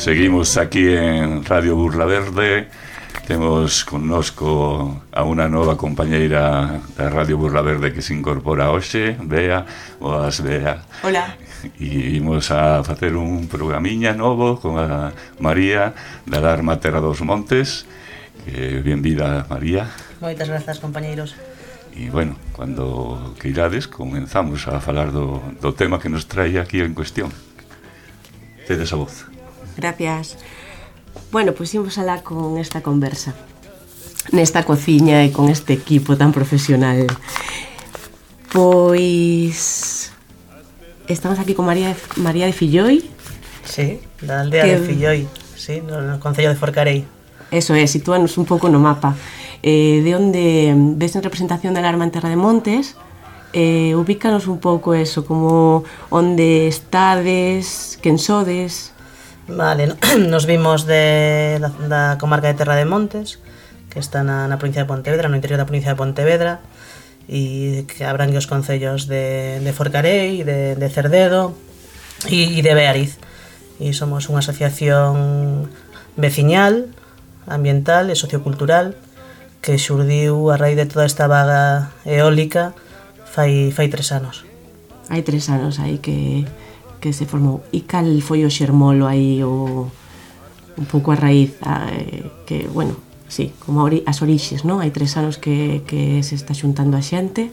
Seguimos aquí en Radio Burla Verde. Temos connosco a unha nova compañeira da Radio Burla Verde que se incorpora hoxe, Bea. Boas, Bea. Hola. E imos a facer un programiña novo con a María da Alarma Terra dos Montes. Benvida, María. Moitas grazas, compañeiros. E, bueno, cando queirades comenzamos a falar do tema que nos trae aquí en cuestión. Tedes a voz. Gracias. Bueno, pois imos alá con esta conversa nesta cociña e con este equipo tan profesional. Pois estamos aquí con María de Filloi. Sí, da aldea de Filloi, sí, no concello de Forcarei. Eso é, sitúanos un pouco no mapa. De onde ves en representación da Alarma en Terra de Montes, ubícanos un pouco eso, como onde estades, quen sodes. Vale, nos vimos da comarca de Terra de Montes, que está na provincia de Pontevedra, no interior da provincia de Pontevedra, e que abrangue os concellos de Forcarei, de Cerdedo e de Beariz. E somos unha asociación veciñal, ambiental e sociocultural que xurdiu a raíz de toda esta vaga eólica fai 3 anos. Hai 3 anos aí que se formou. E cal foi o xermolo aí, un pouco a raíz, que, bueno, sí, como as orixes, non? Hai 3 anos que se está xuntando a xente.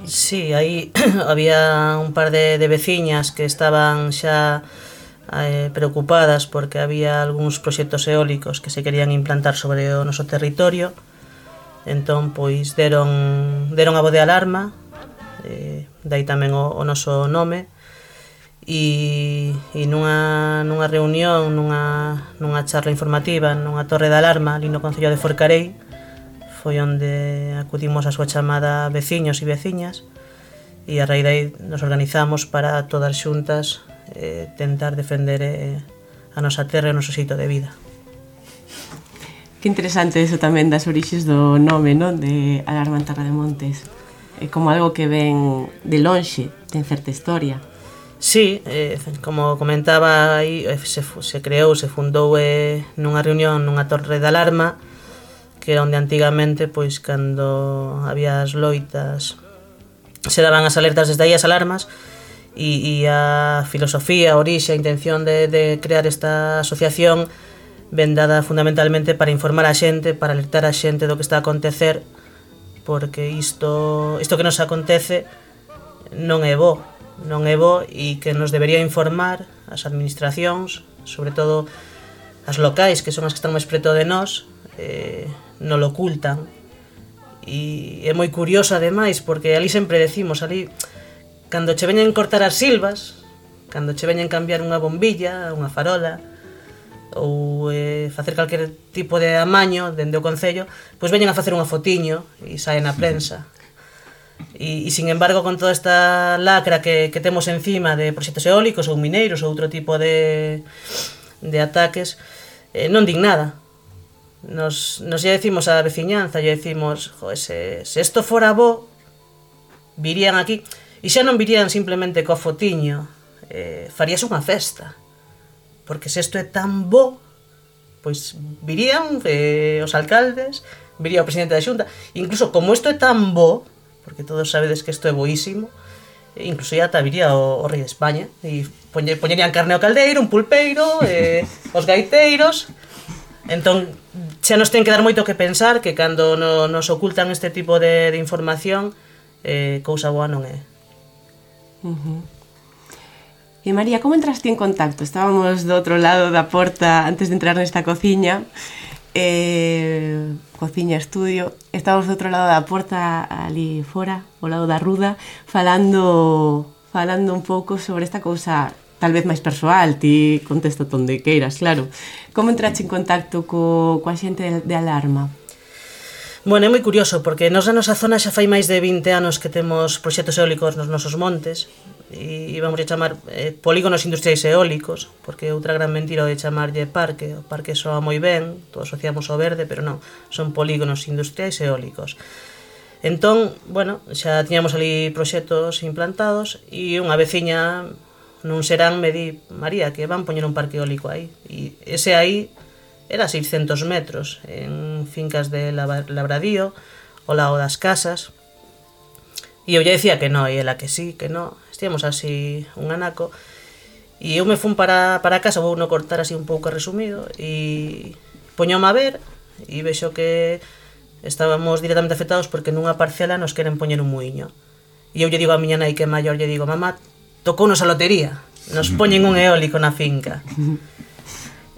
Sí, aí había un par de veciñas que estaban xa preocupadas porque había algúns proxectos eólicos que se querían implantar sobre o noso territorio. Entón, pois, deron a voz de alarma, dai tamén o noso nome, e nunha reunión, nunha charla informativa, nunha torre de alarma ali no concello de Forcarei, foi onde acudimos a súa chamada veciños e veciñas, e a raíz de aí nos organizamos para todas xuntas tentar defender a nosa terra e o noso xeito de vida. Que interesante eso tamén das orixes do nome, non? De Alarma en Terra de Montes. É como algo que ven de lonxe, ten certa historia. Sí, como comentaba aí, se creou, se fundou nunha reunión, nunha torre de alarma, que era onde antigamente, pois, cando había as loitas, se daban as alertas desde aí as alarmas, e a filosofía, a orixe, a intención de crear esta asociación ven dada fundamentalmente para informar a xente, para alertar a xente do que está a acontecer, porque isto que nos acontece non é bo, e que nos debería informar as administracións, sobre todo as locais, que son as que están máis preto de nós, non lo ocultan. E é moi curioso ademais, porque ali sempre decimos, ali cando che veñen cortar as silvas, cando che veñen cambiar unha bombilla, unha farola, ou facer calquer tipo de amaño dende o concello, pois veñen a facer unha fotiño e sae na prensa. E sin embargo, con toda esta lacra que temos encima de proxectos eólicos ou mineiros ou outro tipo de ataques, non din nada. Nos lle decimos á veciñanza, lle decimos, se isto fora bo, virían aquí. E xa non virían simplemente co fotiño, faríase unha festa, porque se isto é tan bo, pois virían os alcaldes, viría o presidente da Xunta, incluso como isto é tan bo, porque todos sabedes que isto é boísimo, incluso ya ata viría o rei de España, e poñerían carne ao caldeiro, un pulpeiro, os gaiteiros. Entón, xa nos ten que dar moito que pensar, que cando nos ocultan este tipo de información, cousa boa non é. E María, como entraste en contacto? Estábamos do outro lado da porta antes de entrar nesta cociña, cociña estudio, estábamos do outro lado da porta ali fora, ao lado da ruda, falando un pouco sobre esta cousa tal vez máis persoal, ti contesta onde queiras, claro. Como entraste en contacto coa xente de alarma? Bueno, é moi curioso, porque nos na nosa zona xa fai máis de 20 anos que temos proxectos eólicos nos nosos montes, e vamos a chamar polígonos industriais eólicos, porque outra gran mentira de chamarlle parque. O parque soa moi ben, todos asociamos ao verde, pero non, son polígonos industriais eólicos. Entón, bueno, xa tiñamos ali proxectos implantados, e unha veciña nun serán me di, María, que van poñer un parque eólico aí. E ese aí era 600 metros en fincas de Labradío, ao lado das casas. E eu lle decía que no, e ela que sí, que no. Estíamos así un anaco. E eu me fun para casa, vou no cortar así un pouco resumido, e poñome a ver, e vexo que estábamos directamente afectados porque nunha parcela nos queren poñer un muiño. E eu lle digo a miña nai que é maior, lle digo, mamá, tocounos a lotería, nos poñen un eólico na finca.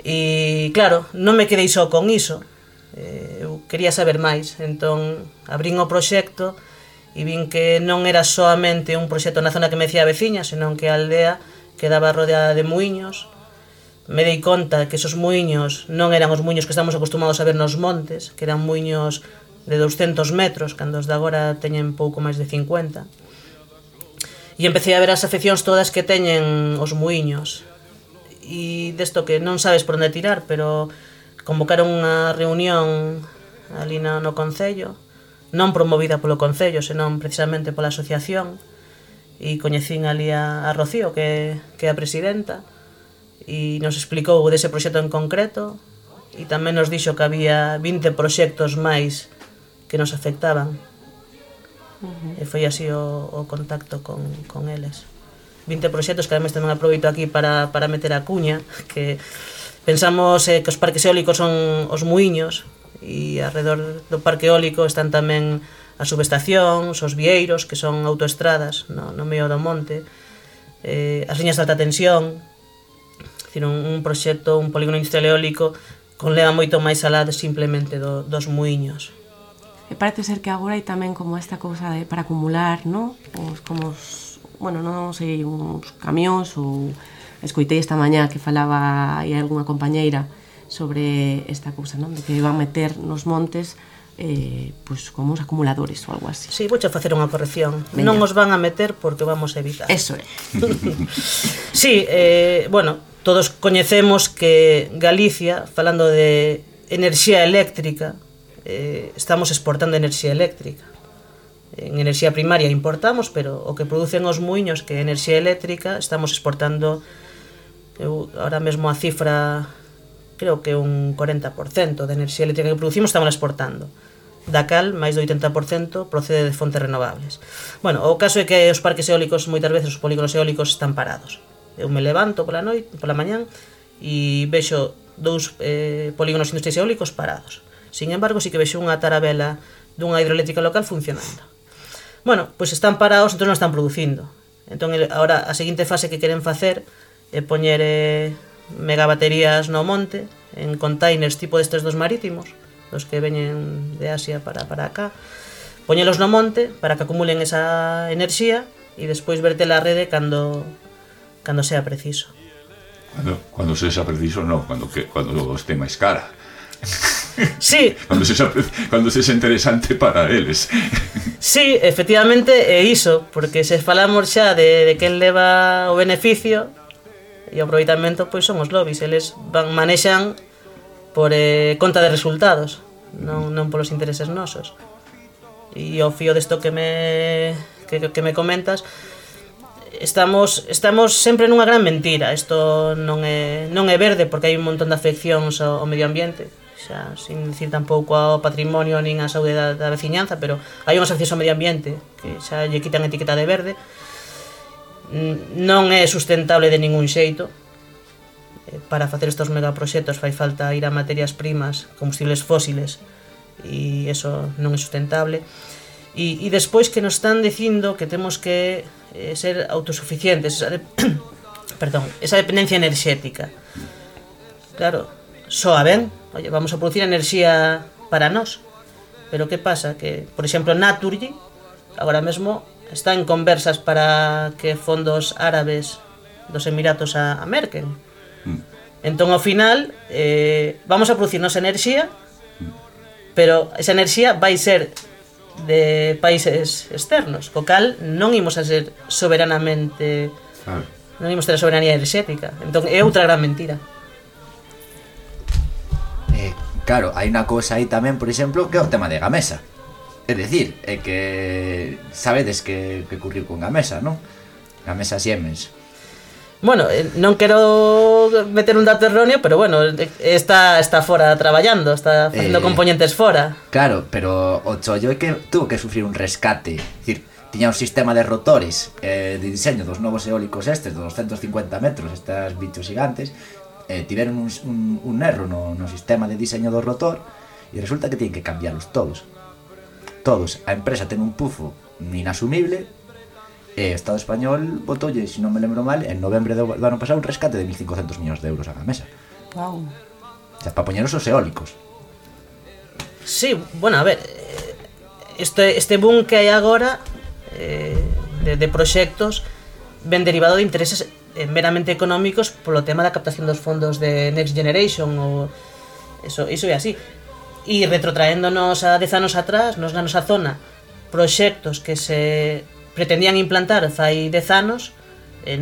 E claro, non me quedei só con iso, eu quería saber máis, entón abrín o proxecto e vin que non era soamente un proxecto na zona que me decía a veciña, senón que a aldea quedaba rodeada de muiños. Me dei conta que esos muiños non eran os muiños que estamos acostumados a ver nos montes, que eran muiños de 200 metros, cando os de agora teñen pouco máis de 50. E empecé a ver as afeccións todas que teñen os muiños. E desto que non sabes por onde tirar, pero convocaron unha reunión ali no Concello, non promovida polo Concello, senón precisamente pola asociación, e coñecín ali a Rocío, que é a presidenta, e nos explicou dese proxecto en concreto, e tamén nos dixo que había 20 proxectos máis que nos afectaban. E foi así o contacto con eles. 20 proxectos que ademais tamén aproveito aquí para meter a cuña, que pensamos que os parques eólicos son os muiños, e alrededor do parque eólico están tamén as subestacións, os vieiros, que son autoestradas no medio do monte, as liñas de alta tensión, decir, un proxecto, un polígono industrial eólico conleva moito máis alá de simplemente dos muiños. E parece ser que agora hai tamén como esta cousa de para acumular, non? Bueno, non sei, uns camións ou escoitei esta mañá que falaba aí algunha compañeira sobre esta cousa, non? De que van meter nos montes pois como uns acumuladores ou algo así. Sí, vouche facer unha corrección. Veña. Non os van a meter porque vamos a evitar. Eso é. Sí, bueno, todos coñecemos que Galicia, falando de enerxía eléctrica, estamos exportando enerxía eléctrica. En enerxía primaria importamos, pero o que producen os muiños, que é enerxía eléctrica, estamos exportando, ahora mesmo a cifra, creo que un 40% de enerxía eléctrica que producimos estamos exportando. Da cal, máis do 80% procede de fontes renovables. Bueno, o caso é que os parques eólicos, moitas veces os polígonos eólicos están parados. Eu me levanto pola mañán e vexo 2 polígonos industriais eólicos parados. Sin embargo, sí que vexo unha tarabela dunha hidroeléctrica local funcionando. Bueno, pois están parados, entón non están producindo. Entón, agora, a seguinte fase que queren facer é poñer megabaterías no monte, en containers tipo destes dos marítimos, dos que veñen de Asia para acá, poñelos no monte para que acumulen esa enerxía e despois vertela á rede cando sea preciso. Cuando sea preciso, no, cuando esté máis cara. Sí. Cuando sexa interesante para eles. Sí, efectivamente é iso, porque se falamos xa de quen leva o beneficio e o aproveitamento, pois son os lobbies, eles manexan por conta de resultados, non polos intereses nosos. E ao fío desto que me comentas, estamos sempre nunha gran mentira. Isto non é verde porque hai un montón de afeccións ao medio ambiente, xa sin dicir tampouco ao patrimonio nin á saúde da veciñanza, pero hai unhas afeccións ao medio ambiente que xa lle quitan a etiqueta de verde. Non é sustentable de ningún xeito. Para facer estes megaproxectos fai falta ir a materias primas, combustibles fósiles, e eso non é sustentable. E despois que nos están dicindo que temos que ser autosuficientes, esa dependencia enerxética. Claro, soa ben, oye, vamos a producir enerxía para nós, pero que pasa? Que, por exemplo, Naturgy agora mesmo está en conversas para que fondos árabes dos Emiratos a merquen. Entón, ao final, vamos a producir nosa enerxía, pero esa enerxía vai ser de países externos, co cal non imos a ser soberanamente, non imos ter a soberanía enerxética. Entón, é outra gran mentira. Claro, hai unha cousa aí tamén, por exemplo, que é o tema de Gamesa. É dicir, é que sabedes que ocurriu con Gamesa, non? Gamesa Siemens. Bueno, non quero meter un dato erróneo, pero bueno, está fora traballando, está facendo componentes fora. Claro, pero o chollo é que tuvo que sufrir un rescate. É dicir, tiña un sistema de rotores de diseño dos novos eólicos estes, dos 250 metros, estas bichos gigantes, tiveron un erro no sistema de diseño do rotor e resulta que tienen que cambiarlos todos. A empresa ten un pufo inasumible. E o Estado español botoulle, se non me lembro mal, en novembre do ano pasado un rescate de 1.500 millóns de euros a Gamesa. Wow. O sea, para poñeros os eólicos. Sí, bueno, a ver, este boom que hai agora de proxectos ven derivado de intereses meramente económicos polo tema da captación dos fondos de Next Generation ou iso é así. E retrotraéndonos a 10 anos atrás, nos na nosa zona, proxectos que se pretendían implantar fai 10 anos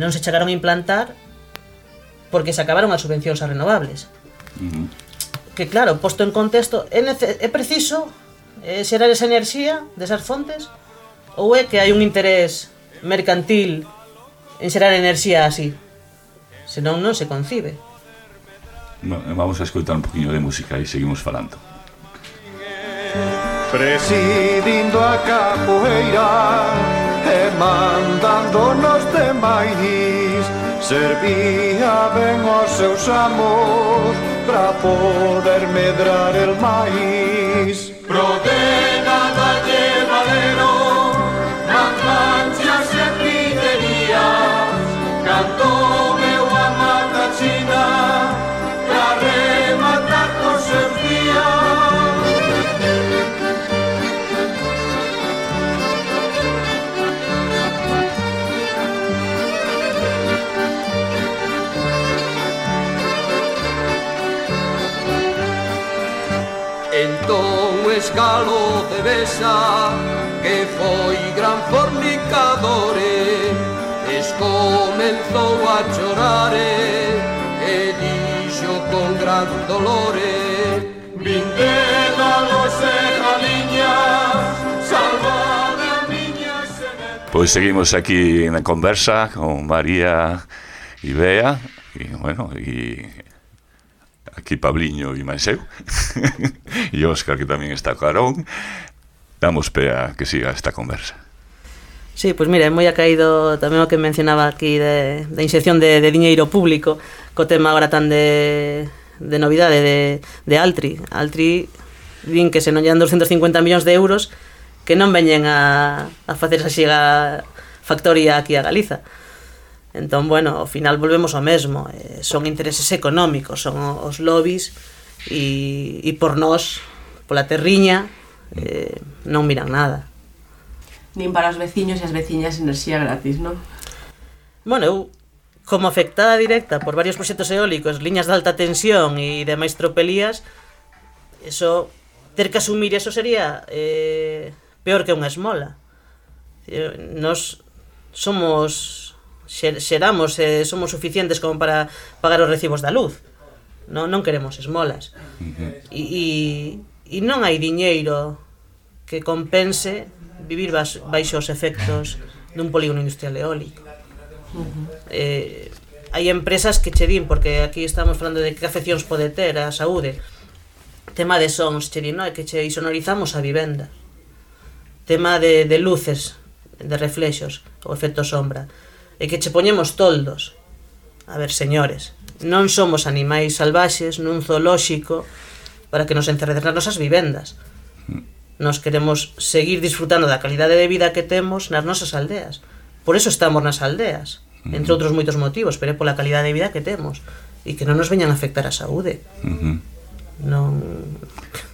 non se chegaron a implantar porque se acabaron as subvencións a renovables. Que claro, posto en contexto, é preciso xerar esa enerxía desas fontes ou é que hai un interés mercantil en xerar enerxía así? Senón non se concibe. Vamos a escoitar un poquinho de música e seguimos falando. Presidindo a capoeira e mandando nos demais, servía ben os seus amos pra poder medrar el maíz. Prodena dalle valero, manganchas e pillerías, cantou meu a mata china pra rematar cos seus días. Entón o escalo de Besa, que foi gran fornicador, comenzou a chorar e dixo con gran dolor: vindela los e galiñas, salvade a miña semente. Pois seguimos aquí na conversa con María e Bea, e bueno, e aquí Pabliño e máis eu e Óscar, que tamén está carón. Damos pé a que siga esta conversa. Sí, pois mira, é moi acaído tamén o que mencionaba aquí da inxección de diñeiro público co tema agora tan de novidade de Altri. Altri din que se non llegan 250 millóns de euros que non veñen a facer esa xiga factoría aquí a Galiza. Entón, bueno, ao final volvemos ao mesmo. Son intereses económicos, son os lobbies e por nós, pola terriña, non miran nada. Nin para os veciños e as veciñas enerxía gratis, non? Bueno, eu, como afectada directa por varios proxectos eólicos, liñas de alta tensión e demais tropelías, eso, ter que asumir eso sería peor que unha esmola. Nos somos xeramos, somos suficientes como para pagar os recibos da luz. Non queremos esmolas. E non hai diñeiro que compense vivir baixo os efectos dun polígono industrial eólico. Hai empresas que che din, porque aquí estamos falando de que afeccións pode ter a saúde, tema de sons, che din, non, é que che isonorizamos a vivenda, tema de luces, de reflexos, o efecto sombra, é que che poñemos toldos. A ver, señores, non somos animais salvaxes nun zoolóxico para que nos encerreden nas nosas vivendas. Nos queremos seguir disfrutando da calidade de vida que temos nas nosas aldeas. Por eso estamos nas aldeas, entre outros moitos motivos, pero é pola calidade de vida que temos e que non nos veñan a afectar a saúde. Non...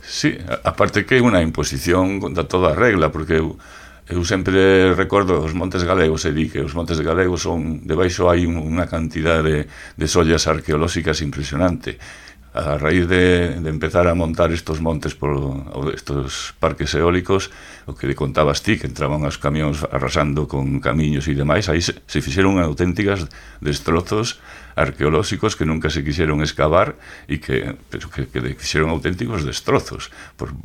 Sí, aparte que é unha imposición contra toda a regla, porque eu sempre recordo os Montes Galegos e di que os Montes Galegos son, debaixo hai unha cantidade de sollas arqueolóxicas impresionante. A raíz de empezar a montar estos montes por estos parques eólicos, o que le contabas ti, que entraban os camións arrasando con camiños e demais, aí se fixeron auténticas destrozos arqueolóxicos que nunca se quixeron excavar e que fixeron auténticos destrozos por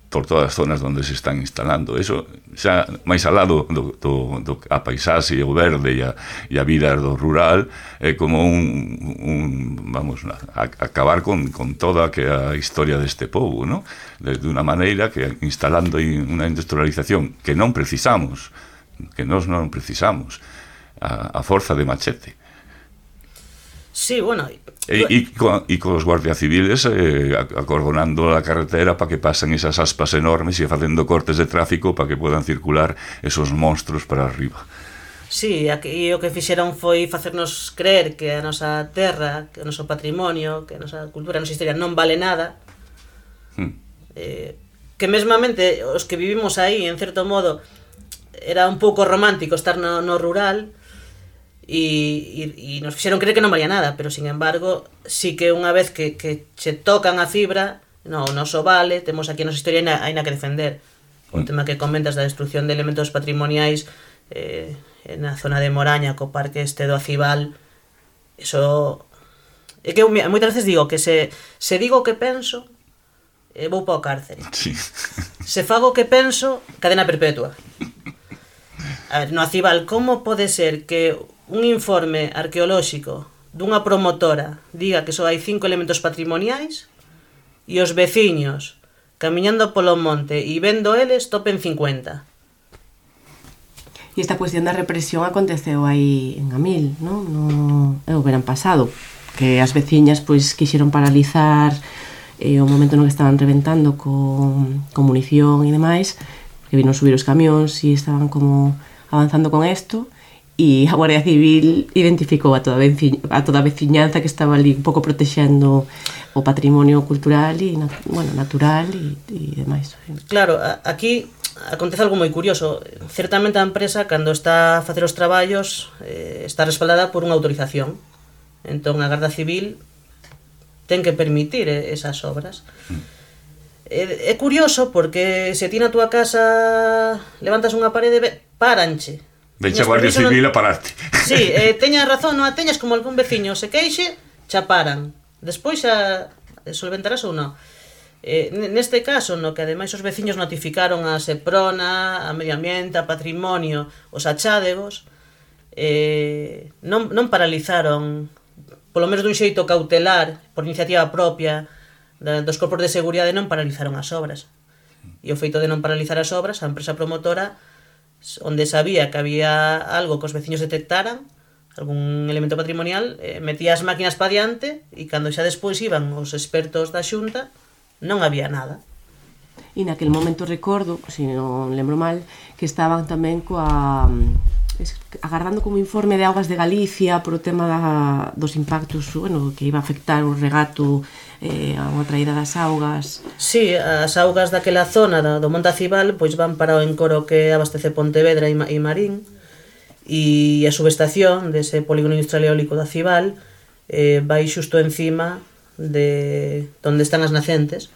por todas as zonas onde se están instalando. Eso xa máis al lado do a paisaxe, o verde e a vida do rural, é como vamos, acabar con toda que a historia deste povo, ¿no? De unha maneira que instalando unha industrialización que non precisamos, que nós non precisamos, a forza de machete. Sí, bueno... E cos guardias civiles acordonando a carretera para que pasen esas aspas enormes e facendo cortes de tráfico para que podan circular esos monstruos para arriba. Sí, aquí o que fixeron foi facernos creer que a nosa terra, que o noso patrimonio, que a nosa cultura, a nosa historia non vale nada. Que mesmamente os que vivimos aí, en certo modo, era un pouco romántico estar no rural, e nos fixeron creer que non valía nada, pero sin embargo sí que unha vez que se tocan a fibra, no, o noso vale, temos aquí a nosa historia aínda que defender. O tema que comentas da destrucción de elementos patrimoniais na zona de Moraña co parque este do Acibal, eso é que moitas veces digo que se digo o que penso, vou para o cárcere. Sí. Se fago o que penso, cadena perpetua. A ver, no Acibal, como pode ser que un informe arqueolóxico dunha promotora diga que só hai 5 elementos patrimoniais e os veciños camiñando polo monte e vendo eles topen 50? E esta cuestión da represión aconteceu aí en Amil, non? É o verán pasado, que as veciñas pois quixeron paralizar o momento no que estaban reventando con munición e demais, que vinon subir os camións e estaban como avanzando con isto, e a Guardia Civil identificou a toda a veciñanza que estaba ali un pouco protexendo o patrimonio cultural e natural e demais. Claro, aquí acontece algo moi curioso. Certamente a empresa, cando está a facer os traballos, está respaldada por unha autorización. Entón a Garda Civil ten que permitir esas obras. É curioso porque se ti na túa casa levantas unha parede, paranche. Veche a Guardia Civil a pararte. Sí, teñas razón, non a teñas, como algún veciño se queixe, xa paran. Despois xa solventarás ou non. Neste caso, no que ademais os veciños notificaron a Seprona, a Medio Ambiente, a Patrimonio, os achádegos, non paralizaron, polo menos dun xeito cautelar, por iniciativa propia dos corpos de seguridade, non paralizaron as obras. E o feito de non paralizar as obras, a empresa promotora, onde sabía que había algo que os veciños detectaran, algún elemento patrimonial, metía as máquinas pa diante, e cando xa despois iban os expertos da Xunta, non había nada. E naquel momento recordo, se non lembro mal, que estaban tamén agardando como informe de Augas de Galicia por o tema dos impactos, que iba a afectar o regato a unha traída das augas. Sí, as augas daquela zona do Monte Acibal pois van para o encoro que abastece Pontevedra e Marín, e a subestación dese polígono industrial eólico do Acibal vai xusto encima de onde están as nacentes,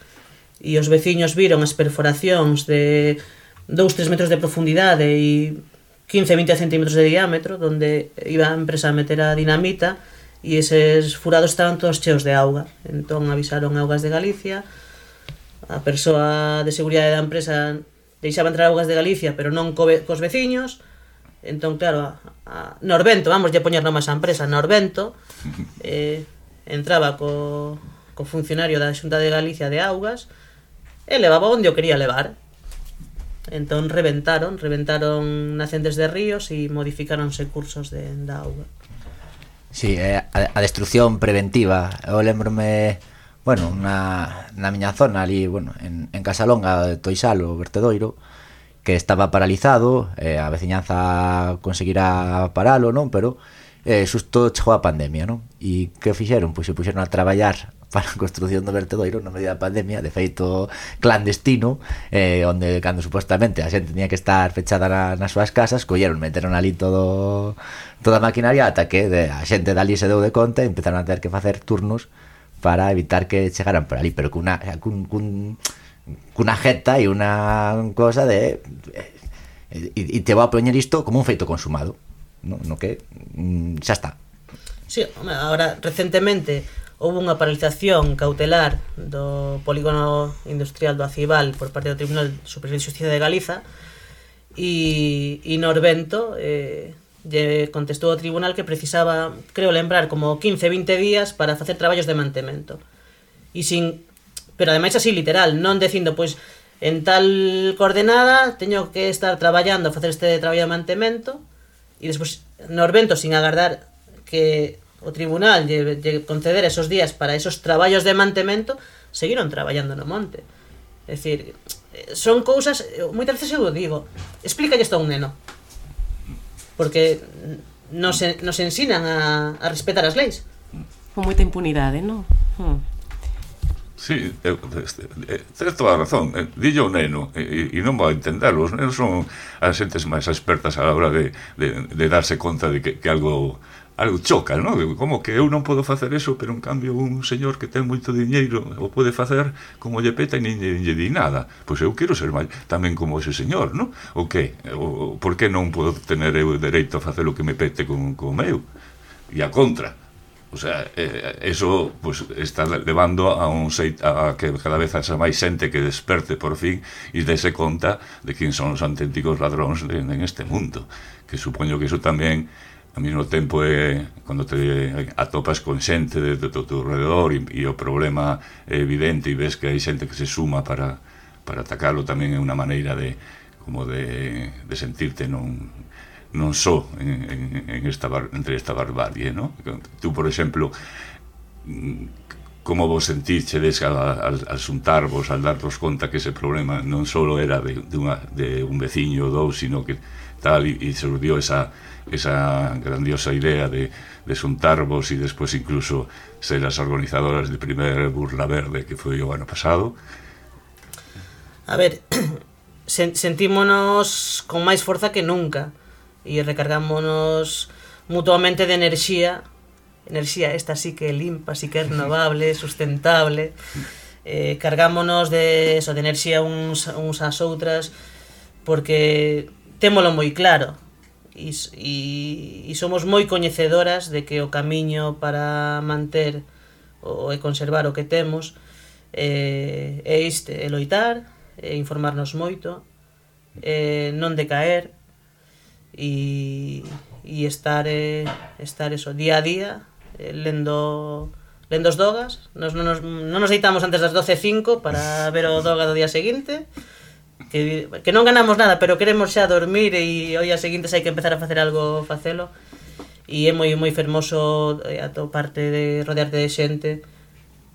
e os veciños viron as perforacións de 2-3 metros de profundidade e 15-20 centímetros de diámetro, onde iba a empresa a meter a dinamita, e eses furados estaban todos cheos de auga. Entón avisaron a Augas de Galicia, a persoa de seguridade da empresa deixaba entrar Augas de Galicia, pero non cos veciños. Entón, claro, Norvento, vamos a poñer nomás a empresa, Norvento, entraba co funcionario da Xunta de Galicia de Augas e levaba onde o quería levar. Entón reventaron nacentes de ríos e modificáronse cursos da auga. Sí, a destrucción preventiva. Eu lembrome, na miña zona ali, en Casalonga de Toisalo, o vertedoiro, que estaba paralizado, a veciñanza conseguirá paralo, non? Pero xusto chegou a pandemia, non? E que fixeron? Pois se puxeron a traballar para a construción do vertedoiro no medio da pandemia, de feito clandestino, onde cando supostamente a xente tenía que estar fechada nas súas casas, meteron ali toda a maquinaria, ata que a xente dali se deu de conta e empezaron a ter que facer turnos para evitar que chegaran por ali, pero cunha jeta e unha cosa de e te vou a poñer isto como un feito consumado, no que xa está. Sí, ahora recentemente houve unha paralización cautelar do polígono industrial do Acibal por parte do Tribunal Superior de Xustiza de Galiza e Norvento lle contestou ao tribunal que precisaba, creo lembrar, como 15-20 días para facer traballos de mantemento. Pero ademais así literal, non dicindo, pois, en tal coordenada teño que estar traballando a facer este traballo de mantemento e despois Norvento, sin agardar que o tribunal lle conceder esos días para esos traballos de mantemento, seguiron traballando no monte. É dicir, son cousas, moitas veces eu digo, explícalle isto a un neno, porque nos ensinan a respetar as leis. Con moita impunidade, non? Sí, tens toda a razón. Dillo un neno e non vai entenderlo. Os nenos son as xentes máis expertas a la hora de darse conta de que algo choca, non? Como que eu non podo facer eso, pero en cambio un señor que ten moito diñeiro o pode facer como lle peta e nin lle di nada. Pois eu quero ser tamén como ese señor, non? O que? Por que non podo tener eu dereito a facer o que me pete con meu? E a contra. O sea, eso pues, está levando a que cada vez haxa máis xente que desperte por fin e dese conta de quen son os auténticos ladróns en este mundo. Que supoño que eso tamén ao mesmo tempo cando te atopas con xente de teu alrededor e o problema é evidente e ves que hai xente que se suma para atacalo, tamén é unha maneira de sentirte non só entre esta barbarie, non? Tú, por exemplo, como vos sentirchedes al xuntarvos, al darvos conta que ese problema non só era de un veciño ou dous, sino que tal, e surdió esa grandiosa idea de xuntarvos e despois incluso ser as organizadoras de primer Burla Verde que foi o ano pasado. A ver, sentímonos con máis forza que nunca e recargámonos mutuamente de enerxía esta sí que é limpa, sí que é renovable, sustentable, cargámonos de enerxía uns ás outras porque témolo moi claro e somos moi coñecedoras de que o camiño para manter e conservar o que temos é este, é loitar, é informarnos moito, non decaer e estar eso, día a día lendo os dogas. Non nos deitamos antes das 12:05 para ver o doga do día seguinte, que non ganamos nada, pero queremos xa dormir e o día seguinte se hai que empezar a facer algo, facelo. E é moi fermoso atoparte de rodearte de xente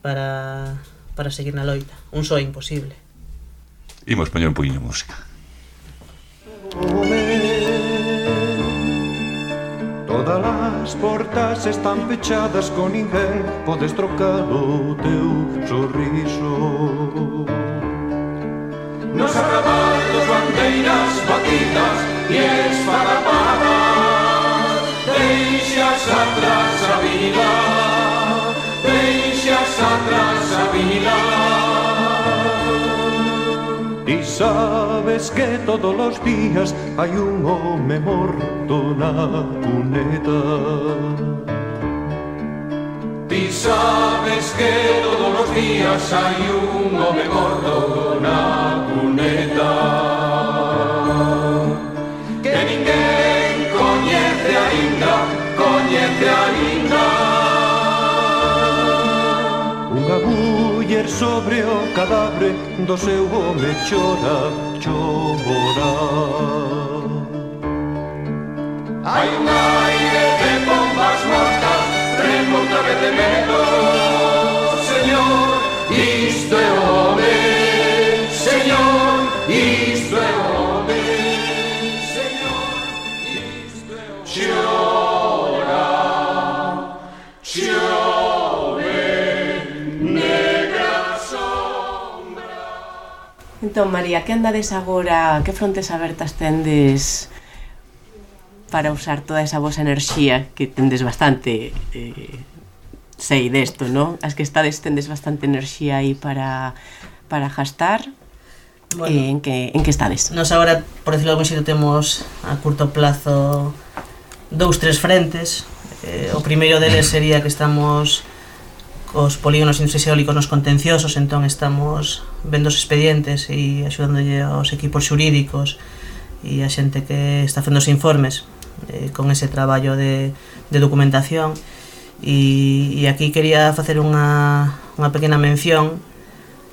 para seguir na loita. Un só é imposible. Imos poñer un poquinho de música. Todas as portas están pechadas, con ninguén podes trocar o teu sorriso. Nos arrabalos, bandeiras batidas e esparrapadas, deixas atrás a vida, deixas atrás a vida. E sabes que todos os días hai un home morto na cuneta. Ti sabes que todos os días hai un home morto na cuneta, que ninguén coñece aínda. Unha muller sobre o cadáver do seu home chora. Hai un aire de bombas mortas, remota vez de menos. Señor, isto é o home. Señor, isto é o home. Señor, isto é o home. Chove, negra sombra. Entón, María, que andades agora, que frontes abertas tendes para usar toda esa vosa enerxía, que tendes bastante, sei desto, non? As que estades tendes bastante enerxía aí para gastar. Bueno, en que estades? Nos agora, por decirlo de algún xeito, temos a curto plazo 2-3 frentes. O primeiro deles sería que estamos cos polígonos industriais eólicos nos contenciosos, entón estamos vendo os expedientes e axudándolle aos equipos xurídicos e a xente que está facendo os informes con ese traballo de documentación. E aquí quería facer unha pequena mención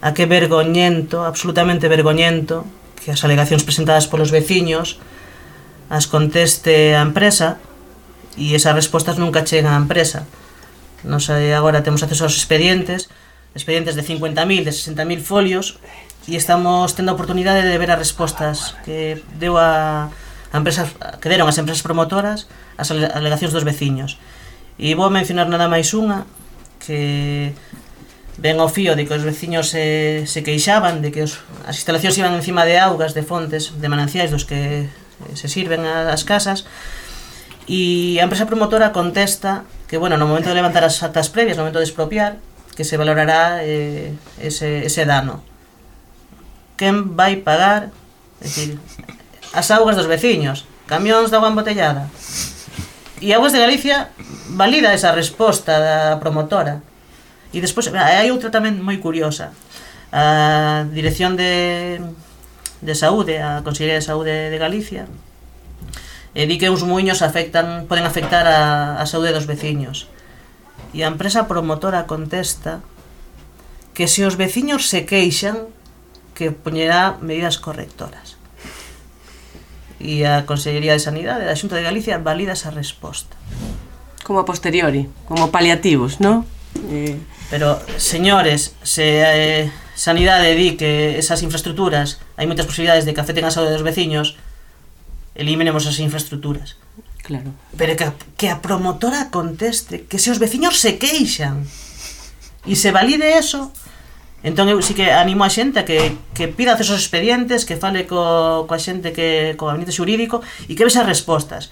a que vergoñento, absolutamente vergoñento, que as alegacións presentadas polos veciños as conteste a empresa e esas respostas nunca chegan á empresa. Nos agora temos acceso aos expedientes de 50.000, de 60.000 folios, e estamos tendo a oportunidade de ver as respostas que deu a empresas, que deron as empresas promotoras as alegacións dos veciños. E vou mencionar nada máis unha que ven ao fío de que os veciños se queixaban de que as instalacións iban encima de augas, de fontes, de mananciais dos que se sirven as casas, e a empresa promotora contesta que, bueno, no momento de levantar as actas previas, no momento de expropiar, que se valorará ese dano. Quen vai pagar? É dicir, as augas dos veciños, camións de agua embotellada. E Augas de Galicia valida esa resposta da promotora. E despois hai outra tamén moi curiosa. A Dirección de Saúde, a Consellería de Saúde de Galicia, di que uns muiños poden afectar a saúde dos veciños. E a empresa promotora contesta que se os veciños se queixan, que poñerá medidas correctoras. E a Consellería de Sanidade da Xunta de Galicia valida esa resposta. Como a posteriori, como paliativos, non? Pero, señores, se Sanidade di que esas infraestructuras hai moitas posibilidades de que afecten a saúde dos veciños, eliminemos as infraestructuras. Claro. Pero que a promotora conteste que se os veciños se queixan e se valide eso, entón eu sí que animo a xente a que pida acceso aos expedientes, que fale coa xente, co gabinete xurídico, e que ve esas respostas.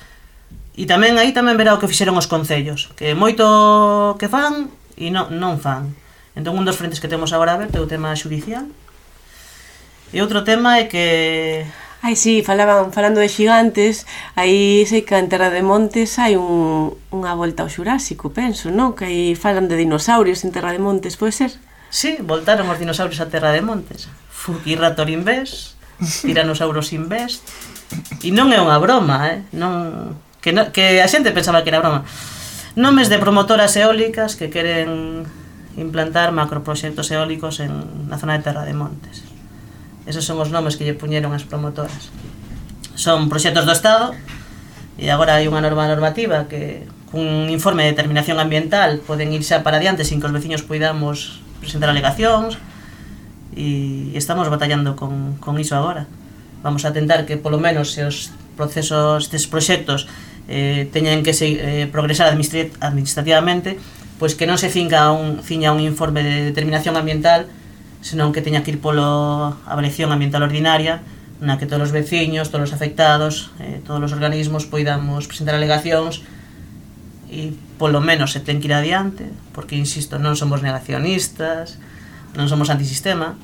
E tamén aí verá o que fixeron os concellos, que moito que fan e non fan. Entón un dos frentes que temos agora a ver é o tema xudicial. E outro tema é que... Ai, sí, falando de xigantes, aí sei que en Terra de Montes hai unha volta ao Xurásico, penso, non? Que aí falan de dinosaurios en Terra de Montes, pode ser? Sí, voltaron os dinosaurios a Terra de Montes. Fukiraptor Invest, Tyrannosaurus Invest. E non é unha broma, non... Que a xente pensaba que era broma. Nomes de promotoras eólicas que queren implantar macroproxectos eólicos na zona de Terra de Montes. Esos son os nomes que lle puñeron as promotoras. Son proxectos do Estado, e agora hai unha normativa que cun informe de determinación ambiental poden ir xa para adiante sin que os veciños poidamos presentar alegacións, e estamos batallando con iso agora. Vamos a tentar que polo menos se os procesos destes proxectos teñen que progresar administrativamente, pois que non se ciña un informe de determinación ambiental, senón que teña que ir polo avaliación ambiental ordinaria, na que todos os veciños, todos os afectados, todos os organismos poidamos presentar alegacións, e polo menos se ten que ir adiante, porque, insisto, non somos negacionistas, non somos antisistema.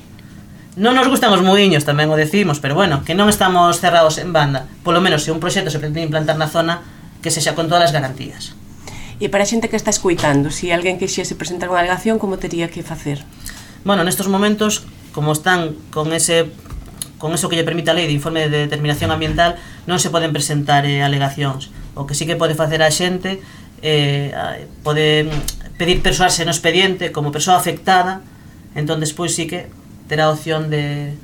Non nos gustan os muiños, tamén o decimos, pero bueno, que non estamos cerrados en banda. Polo menos se un proxecto se pretende implantar na zona, que sexa con todas as garantías. E para a xente que está escuitando, se alguén quixese presentar unha alegación, como tería que facer? Bueno, nestos momentos, como están con eso que lle permite a lei de informe de determinación ambiental, non se poden presentar alegacións. O que sí que pode facer a xente pode pedir persoarse no expediente como persoa afectada, entón despois sí que terá a opción de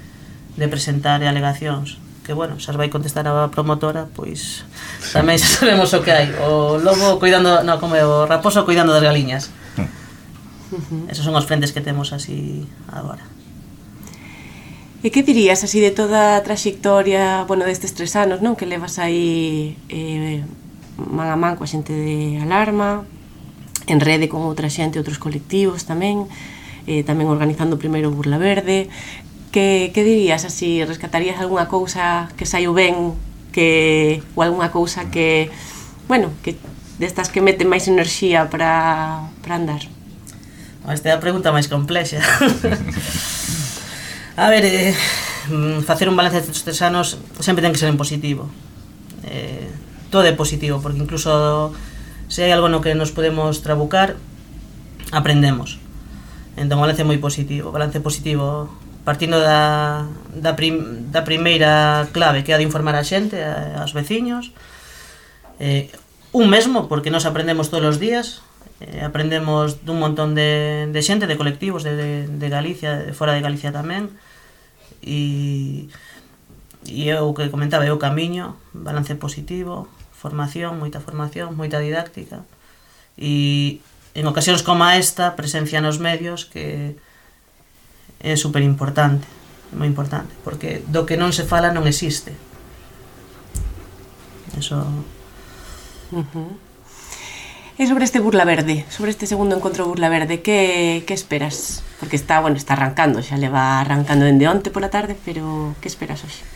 presentar alegacións. Que, bueno, xa vai contestar a promotora, pois tamén xa sabemos o que hai. O lobo cuidando, non, como o raposo cuidando das galiñas. Esos son os frentes que temos así agora. E que dirías así de toda a traxectoria, bueno, destes 3 anos, non? Que levas aí man a man coa xente de Alarma, en rede con outra xente, outros colectivos tamén, tamén organizando primeiro Burla Verde. Que dirías así, rescatarías algunha cousa que saiu ben, ou algunha cousa que, bueno, que destas que meten máis enerxía para andar? Esta é a pregunta máis complexa. A ver, facer un balance destes 3 anos sempre ten que ser en positivo. Todo é positivo, porque incluso se hai algo no que nos podemos trabucar, aprendemos. Entón, balance moi positivo, partindo da primeira clave, que é a de informar a xente, aos veciños, un mesmo, porque nos aprendemos todos os días, aprendemos dun montón de xente, de colectivos de Galicia, de fora de Galicia tamén, e eu que comentaba, eu camiño, balance positivo, formación, moita didáctica, e en ocasións como esta, presencia nos medios, que é super importante, moi importante, porque do que non se fala non existe. Eso. E sobre este Burla Verde, sobre este segundo encontro Burla Verde, que esperas? Porque está arrancando, xa leva arrancando dende onte pola tarde, pero que esperas hoxe?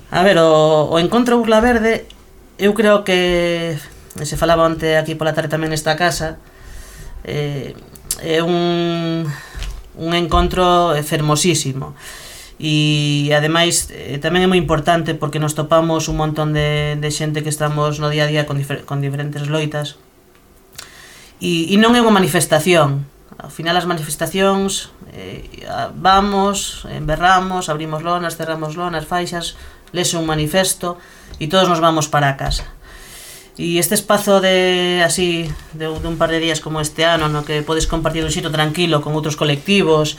A ver, o encontro Burla Verde, eu creo que se falaba onte aquí pola tarde tamén nesta casa, é un encontro fermosísimo, e ademais tamén é moi importante porque nos topamos un montón de xente que estamos no día a día con diferentes loitas, e non é unha manifestación. Ao final as manifestacións vamos, berramos, abrimos lonas, cerramos lonas, faixas, lese un manifesto e todos nos vamos para a casa. E este espazo de un par de días como este ano, no que podes compartir un xito tranquilo con outros colectivos,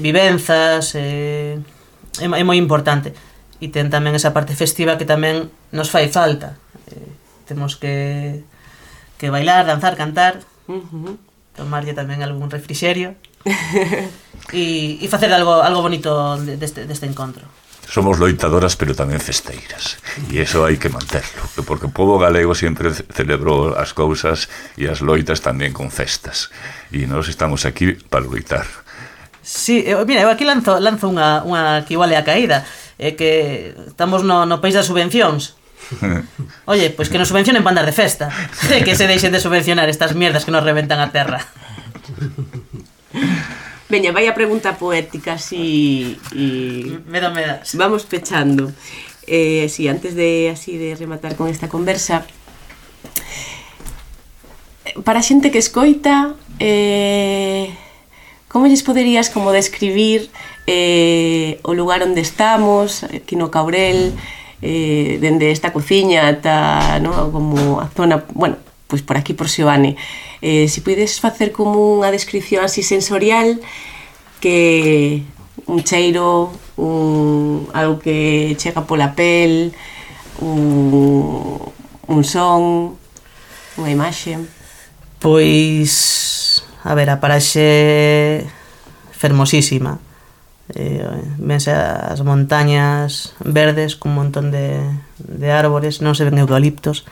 vivenzas, é moi importante. E ten tamén esa parte festiva que tamén nos fai falta. Temos que bailar, danzar, cantar, tomarlle tamén algún refrixerio e facer algo bonito deste encontro. Somos loitadoras, pero tamén festeiras, e iso hai que manterlo, porque o pobo galego sempre celebrou as cousas e as loitas tamén con festas, e nós estamos aquí para loitar. Sí, mira, eu aquí lanzo unha que igual é a caída, é que estamos no país das subvencións. Oye, pois que nos subvencionen para andar de festa, que se deixen de subvencionar estas mierdas que nos reventan a terra. Veña, vai a pregunta poética e me das. Vamos pechando. Si antes de rematar con esta conversa, para a xente que escoita, como lles poderías como describir o lugar onde estamos, aquí no Caurel, dende esta cociña ata, no, como a zona, bueno, pois por aquí por Seoane, se podes facer como unha descripción así sensorial, que un cheiro, algo que chega pola pel, un son, unha imaxe. Pois, a ver, a paraxe fermosísima. Vense as montañas verdes con un montón de árbores, non se ven eucaliptos,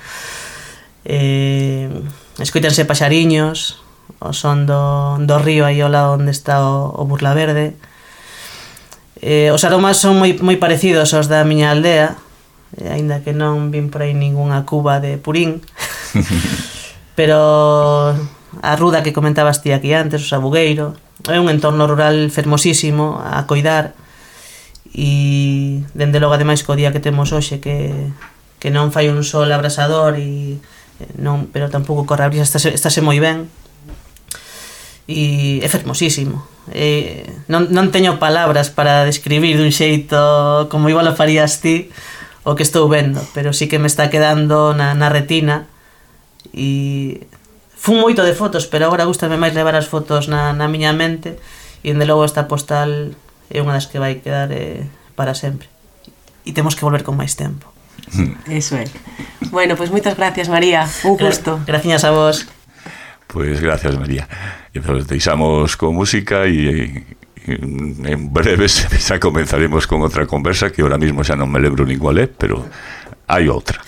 escoítanse paxariños, o son do río aí ao lado onde está o Burla Verde. Os aromas son moi parecidos aos da miña aldea, aínda que non vin por aí ningunha cuba de purín, pero a ruda que comentabas ti aquí antes, o Sabugueiro, é un entorno rural fermosísimo a coidar, e dende logo ademais co día que temos hoxe que non fai un sol abrasador e non, pero tampouco corre a brisa, estáse moi ben, e é fermosísimo. Non teño palabras para describir dun xeito como igual o farías ti o que estou vendo, pero sí que me está quedando na retina, e fun moito de fotos, pero agora gústame máis levar as fotos na miña mente, e dende logo esta postal é unha das que vai quedar para sempre, e temos que volver con máis tempo. Eso é. Bueno, pois moitas gracias, María, un gusto. Gracias a vos. Pois gracias, María. E nos deixamos con música e en breve xa comenzaremos con outra conversa que ahora mismo xa non me lembro nin cual é, pero hai outra.